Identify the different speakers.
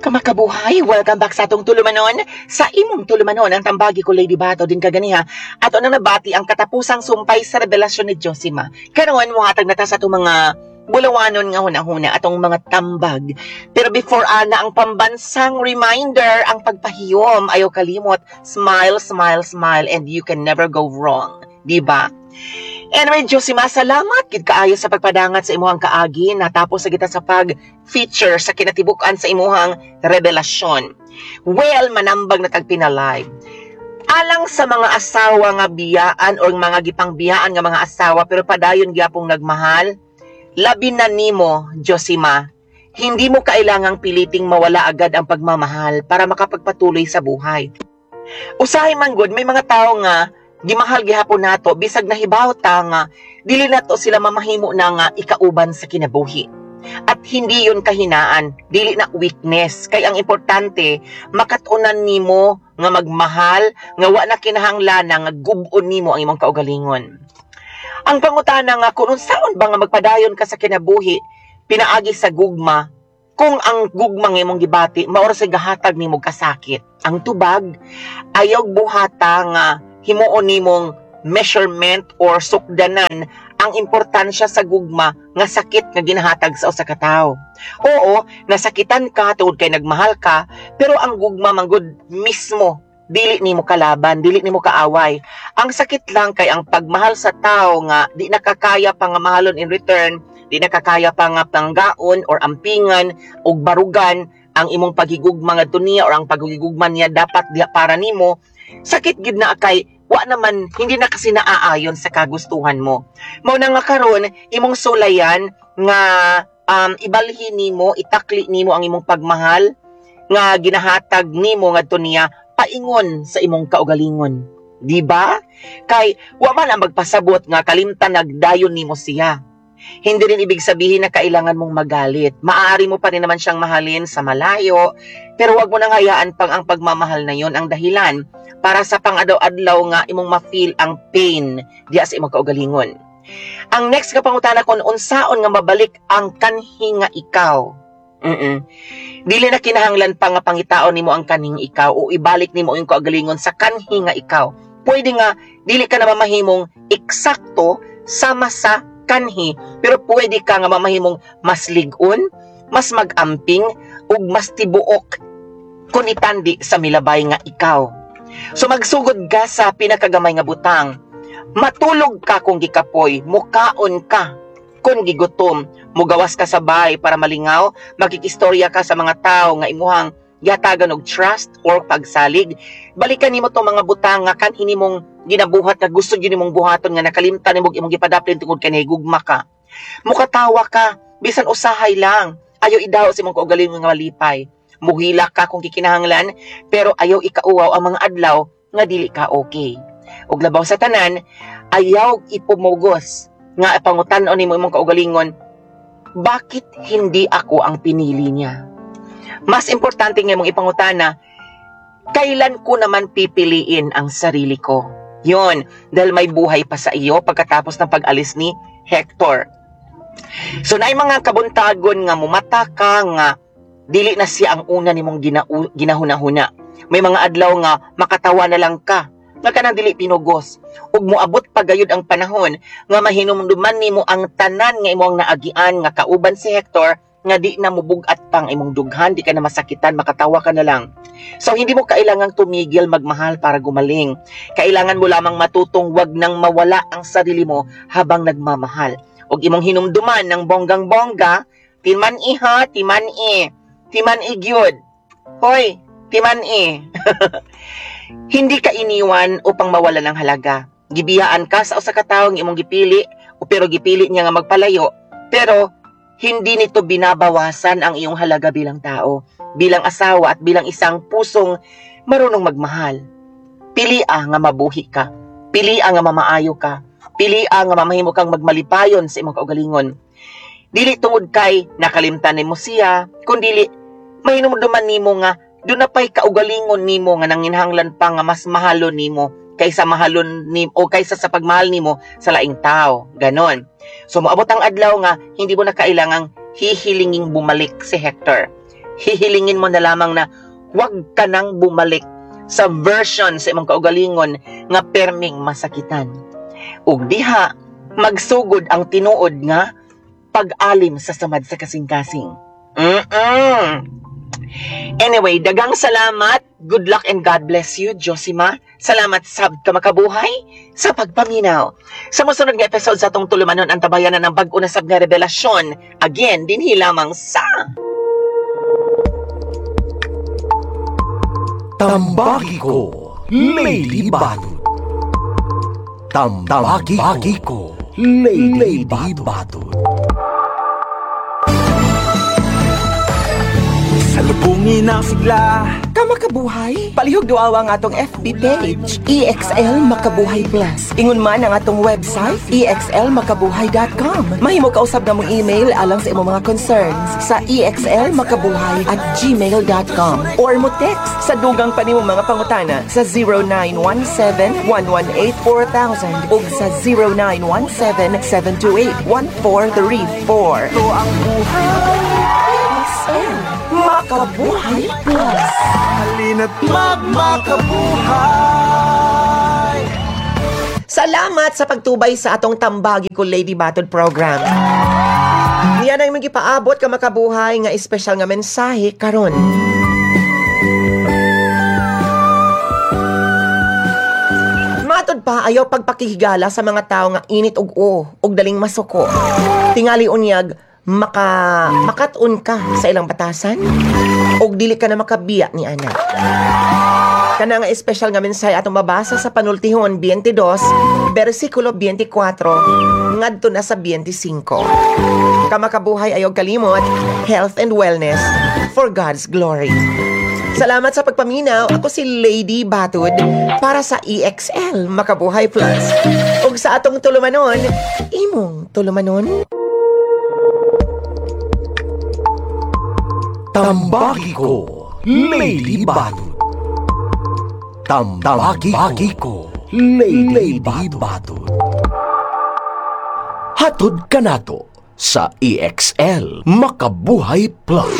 Speaker 1: Kamakabuhay, welcome back sa atong tulumanon. Sa imong tulumanon, ang tambagi ko, Lady Bato, din kaganiha. Ato nang nabati ang katapusang sumpay sa revelasyon ni Josima. Karon mohatag na ta sa atong mga bulawanon nga hunahuna, atong mga tambag. Pero before ana, ang pambansang reminder, ang pagpahiyom, ayaw kalimot, smile, smile, smile, and you can never go wrong. Di ba? Anyway, Josima, salamat gid kaayo sa pagpadangat sa imuhang kaagi. Natapos sa kita sa pag-feature sa kinatibuk-an sa imuhang revelasyon. Well, manambag na tag pinalive. Alang sa mga asawa nga biyaan or mga gipangbiyaan nga mga asawa pero padayon gyapong nagmahal, labi na nimo, Josima, hindi mo kailangang piliting mawala agad ang pagmamahal para makapagpatuloy sa buhay. Usahay man gud, may mga tao nga gimahal gihapon nato bisag nahibaw ta nga dili nato sila mamahimo na nga ikauban sa kinabuhi. At hindi yun kahinaan, dili na weakness. Kay ang importante, makatunan nimo nga magmahal, nga wa na kinahanglan nga gub-on nimo ang imong kaugalingon. Ang pangutana nga kung unsaon ba nga magpadayon ka sa kinabuhi pinaagi sa gugma kung ang gugma nga imong gibati mao ra sa gahatag nimo kasakit. Ang tubag, ayaw buhata nga himuon nimong measurement or sukdanan ang importansya sa gugma nga sakit nga ginahatag sa usa ka tawo. Oo, nasakitan ka tungod kay nagmahal ka, pero ang gugma manggod mismo dili nimo kalaban, dili nimo kaaway. Ang sakit lang kay ang pagmahal sa tao nga di nakakaya pa nga mahalon in return, di nakakaya pa nga panggaon or ampingan og barugan ang imong paghigugma ngadto niya or ang paghigugma niya dapat diha para nimo. Sakit gid na kay wa naman, hindi na kasi naaayon sa kagustuhan mo. Mao na nga karon imong sulayan nga ibalhin nimo, itakli nimo ang imong pagmahal nga ginahatag nimo ngadto niya paingon sa imong kaugalingon. Di ba? Kay wa man ang magpasabot nga kalimtan nagdayon nimo siya. Hindi rin ibig sabihin na kailangan mong magalit. Maaari mo pa rin naman siyang mahalin sa malayo, pero wag mo nang hayaan pang ang pagmamahal na yon ang dahilan para sa pang-adlaw-adlaw nga imong ma-feel ang pain diya sa imong kaugalingon. Ang next nga pangutana, kung unsaon nga mabalik ang kanhi nga ikaw. Dili na kinahanglan pa nga pangitaon nimo ang kanhing ikaw o ibalik nimo ang kaugalingon sa kanhi nga ikaw. Pwede nga dili ka na mamahimong eksakto sama sa kanhi, pero pwede ka nga mamahimong mas lig-on, mas mag-amping ug mas tibuok kung itandi sa milabay nga ikaw. So magsugod ka sa pinakagamay nga butang. Matulog ka kung gikapoy, mukaon ka kung gigutom, mugawas ka sa bahay para malingaw, makikistorya ka sa mga tao nga imuhang gihatagan og trust or pagsalig. Balikan nimo tong mga butang nga kanhi nimong ginabuhat nga gusto gyud nimong buhaton nga nakalimtan nimo imong gipadaplin tungod kay nahigugma ka. Mukatawa ka bisan usahay lang. Ayaw idaw sa imong kaugalingon nga malipay. Muhilak ka kung kikinahanglan, pero ayaw ikauwaw ang mga adlaw nga dili ka okay. Ug labaw sa tanan, ayaw ipumugos nga pangutan-on nimo imong kaugalingon, "Bakit hindi ako ang pinili niya?" Mas importante nga imong ipangutana, "Kailan ko naman pipiliin ang sarili ko?" Yun, dahil may buhay pa sa iyo pagkatapos ng pag-alis ni Hector. So naay mga kabuntagon nga mumata ka nga dili na siya ang una nimong ginahuna-huna. May mga adlaw nga makatawa na lang ka nga kanang dili pinugos. Ug moabot pa gayud ang panahon nga mahinumduman nimo ang tanan nga imong naagian nga kauban si Hector, nga di na mubug-at pang imong dughan, di ka na masakitan, makatawa ka na lang. So hindi mo kailangang tumigil magmahal para gumaling. Kailangan mo lamang matutong wag nang mawala ang sarili mo habang nagmamahal. Ug imong hinumduman ng bonggang-bongga, timan-i ha, timan-i. Timan-i gyud. Hoy, timan-i. Hindi ka iniwan upang mawala ng halaga. Gibiyaan ka sa usa ka tawo nga imong gipili, o pero gipili niya nga magpalayo, pero hindi nito binabawasan ang iyong halaga bilang tao, bilang asawa at bilang isang pusong marunong magmahal. Pili nga mabuhi ka. Pili nga mamaayo ka. Pili nga mamahimo kang magmalipayon sa imong kaugalingon. Dili tungod kay nakalimtan nimo siya, kundili mahinumduman nimo nga duna pay kaugalingon nimo nga nanginhanglan pa nga mas mahalon nimo kaysa mahalon ni o kaysa sa pagmahal nimo sa laing tao. Ganon. So moabot ang adlaw nga hindi mo na kailangang hihilinging bumalik si Hector. Hihilingin mo na lamang na huwag ka nang bumalik sa version sa imong kaugalingon nga perming masakitan. Ug diha magsugod ang tinuod nga pag-alim sa samad sa kasing-kasing. Anyway, daghang salamat. Good luck and God bless you, Josima. Salamat sab ka, makabuhay, sa pagpaminaw. Sa mosunod nga episode sa atong tulumanon, ang tabayanan ng bag-o na sab nga revelasyon. Again, dinhi lamang sa
Speaker 2: Tambagi ko, Lady Batud. Tambagi ko, Lady Batud.
Speaker 3: Salubungin ang sigla.
Speaker 4: Kamakabuhay, palihog duawa ang atong FB page, EXL Makabuhay Plus. Ingon man ang atong website, exlmakabuhay.com. Mahimo kausab na mong email alang sa imong mga concerns sa exlmakabuhay@gmail.com or mo text sa dugang pa nimo mga pangutana sa 0917-118-4000 ug sa 0917-728-1434.
Speaker 3: Ito ang buhay.
Speaker 4: EXL Makabuhay Plus.
Speaker 3: Halina't magmakabuhay.
Speaker 4: Salamat sa pagtubay sa atong Tambagi ko Lady Battle program. Niya na yung gipaabot ka, makabuhay, nga espesyal nga mensahe karon. Matod pa, ayaw pagpakihigala sa mga tao nga init og o, og daling masuko. Tingali unyag, makat-on ka sa ilang batasan, og dili ka na makabiya ni ana. Kana nga espesyal nga mensahe atong mabasa sa Panultihon 22, bersikulo 24, ngadto na sa 25. Kamakabuhay, ayaw kalimot, health and wellness for God's glory. Salamat sa pagpaminaw. Ako si Lady Batud para sa EXL Makabuhay Plus. Ug sa atong tulumanon, imong tulumanon.
Speaker 2: Tambagi ko, Lady Batud. Tambagi ko, Lady Batud. Hatod kanato sa EXL Makabuhay Plus.